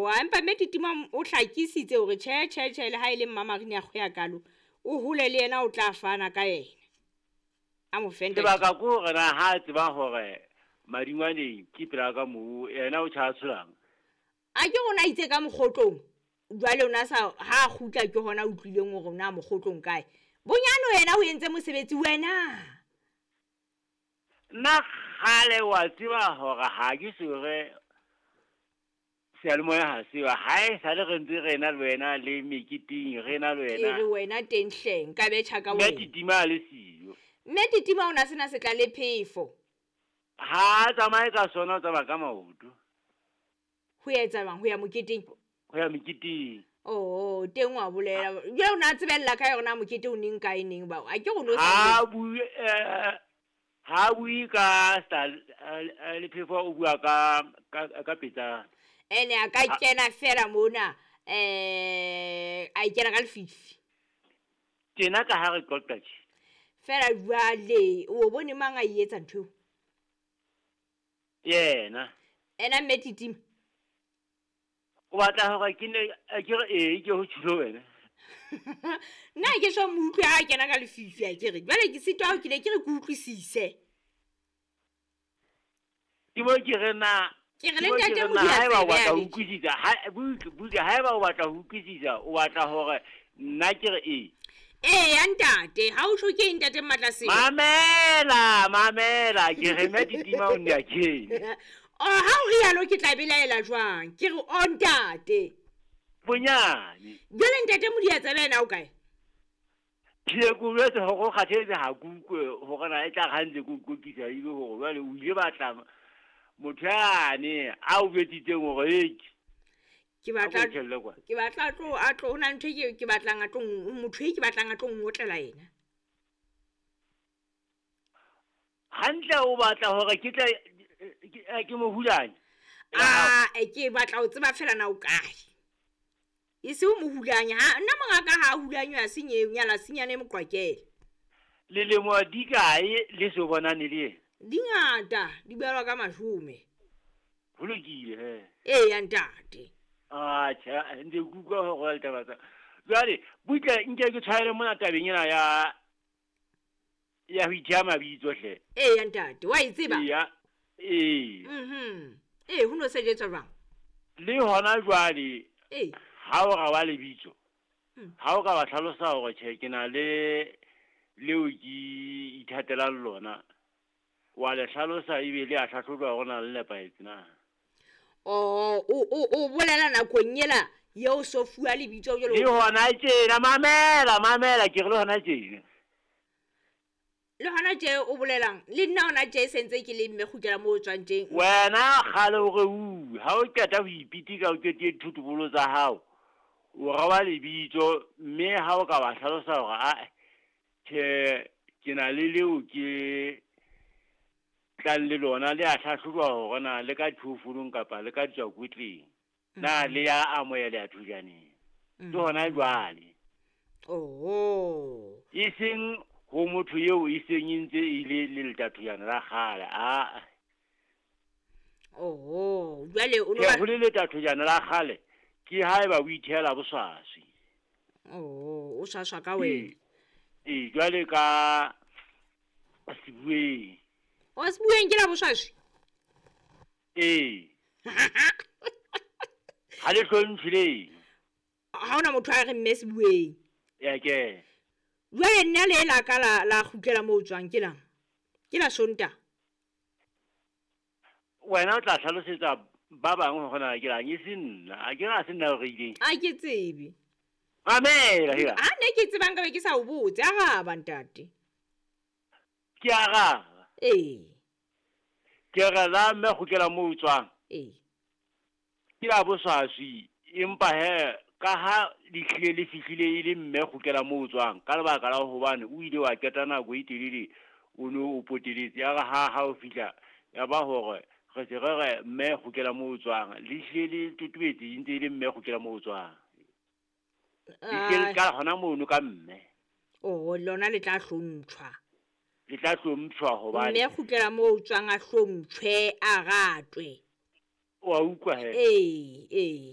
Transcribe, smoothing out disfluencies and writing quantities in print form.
Oh, empa mme Titima o hlakisitse hore tjhe tjhe tjhe le ha e le Mmamarine a kgweya kalo, o hole le yena o tla fana ka yena. A mo fe ntate. Lebaka ke hore na ha a tseba hore madingwaneng ke pela ka moo, yena o tjha tsholang. A ke rona itse ka mokgotlong. Jwale o na sa ha a kgutla ke hona utlwileng hore na mokgotlong kae. Bonyane yena o entse mosebetsi wena. Nna kgale wa tseba hore ha ke sore seyalemoya ha sewa ha e sale re ntse re na le wena le meketeng re na le Ke wena re wena teng hleng ka betjha ka mme wena. Titima a le siyo. Mme Titima o na sena setla le phefo. Ha a tsamaye ka sona o tsamaya ka maoto Ho etsa jwang ho ya moketeng? ho ya meketeng. Oh, teng wa bolela. Jwale o na tsebella ka yona mokete o neng kae neng ba. A ke re o no sa Ha bue ha bue ka sta le phefo o bua ka ka petsana. Ene a ka kena fela mona a ikena ka lefifi. Tjena ka ha re qoqa tje. Fela jwale o bone mang a e etsa ntho eo? Yena. Ena mme Titima. O batla hore ke ne ke re ee ke ho tjhilo wena. Nna ke so mo utlwe ha kena ka lefifi a ke re. Jwale ke sitwa ho ke ne ke re ke utlwisise. Ke mo ke re na Ke re le ke mo ke ntate re na Modiya haeba o tsebe batla a ho betjhe. utlwisisa, ha butle butle haeba o batla ho utlwisisa, o batla hore nna ke re ee. Ee ya ntate, ha o tjho ke eng ntate Mmatlasebe? Mamela, mamela, ke re mme Titima o nne a kene. Oh, ha o rialo ke tla belaela jwang? Ke re o ntate. Bonyane. Jwale ntate Modiya tsebe yena o kae? Ke ye ko jwetse hore o kgathetse ha ke utlwe hore na e tla re ha ntse ke o qoqisa ebe hore jwale o ile batla motho yane a o jwetsitseng hore hei, Ke a ko batla tjhelle kwana. ke batla tlo a tlo hona ntho e ke batlang a tlo motho e ke batlang a tlo ngotlela yena. Hantle o batla hore ke tle ke mo hulanye. Ah, ke batla ho tseba fela na o kae. E se o mo hulanya ha nna mongaka ha hulanywa a senye nyala senyane moqwakele. Lelemo di kae le so bonane le yena? Di ngata, di balwa ka mashome. Ho lokile he. Ee ya ntate. Ah, tjhe, ntse ke utlwa hore wa ditaba tsa. Jwale butle nke ke tshwaele mona tabeng ena ya ya ho itheha mabitso hle. Ee ya ntate, wa e tseba? Eya. Ee. Mhm. Ee, ho no sebetswa jwang? Le hona jwale Ee. ha o ra wa lebitso, ha o ka wa hlalosa hore tjhe ke na le leo ke ithatelang lona, wa le hlalosa ebe le a hlahlojwa hore na le nepahetse na. Oh, o bolela nakong ela eo so fuwa lebitso jwalo. Le hona tjena, mamela, mamela, ke re le hona tjena. Le hona tje o bolelang, le nna hona tje sentse ke le mme kgutlela moo o tswang teng. Wena kgale o re uwe, ha o qeta ho ipitika o qetile dithotobolo tsa hao, o rawa lebitso mme ha o ka wa hlalosa hore a tjhe ke na le leo ke tlang le lona le a hlahlojwa hore na le ka diphoofolo kapa le ka ditswakwetleng, na le ya amoheleha thujaneng. Ke hona jwale. Oh. E seng ho motho eo e seng e ntse e le le letathojana la kgale, a. Oh, jwale o no Ke ba ho le letathojana la kgale ke haeba o ithehela boswaswi. Oh, o swaswa ka wena. Ee, jwale ka Sebueng. O Sebueng ke la boswaswi? Ee. Ha le hlomphe le. Ha hona motho a re mme Sebueng. Ya ke. Jwale nna le la ka la kgutlela moo o tswang ke lang? Ke la Sontaha. Wena o tla hlalosetsa ba bang hore na ke lang, e se nna. A ke re ha se nna o reileng. A ke tsebe. Mamela hela. Ha ne ke tsebang ka be ke sa o botse, araba ntate. Ke araba. Ee. Ke re la mme kgutlela moo o tswang. Ee. Ke la boswaswi, empa he ka ha le hlile le fihlile e le mme kgutlela moo o tswang ka lebaka la hobane o ile wa qeta nako e telele o no o poteletse. Ya re ha o fihla ya ba hore re se re re mme kgutlela moo o tswang, le hlile le totobetse e ntse e le mme kgutlela moo o tswang. Le hlile le qala hona mono ka mme. Oh, lona le tla hlomptjhwa. Le tla hlomptjhwa hobane mme kgutlela moo o tswang a hlomptjhwe, a ratwe. Wa utlwa he? Ee, ee.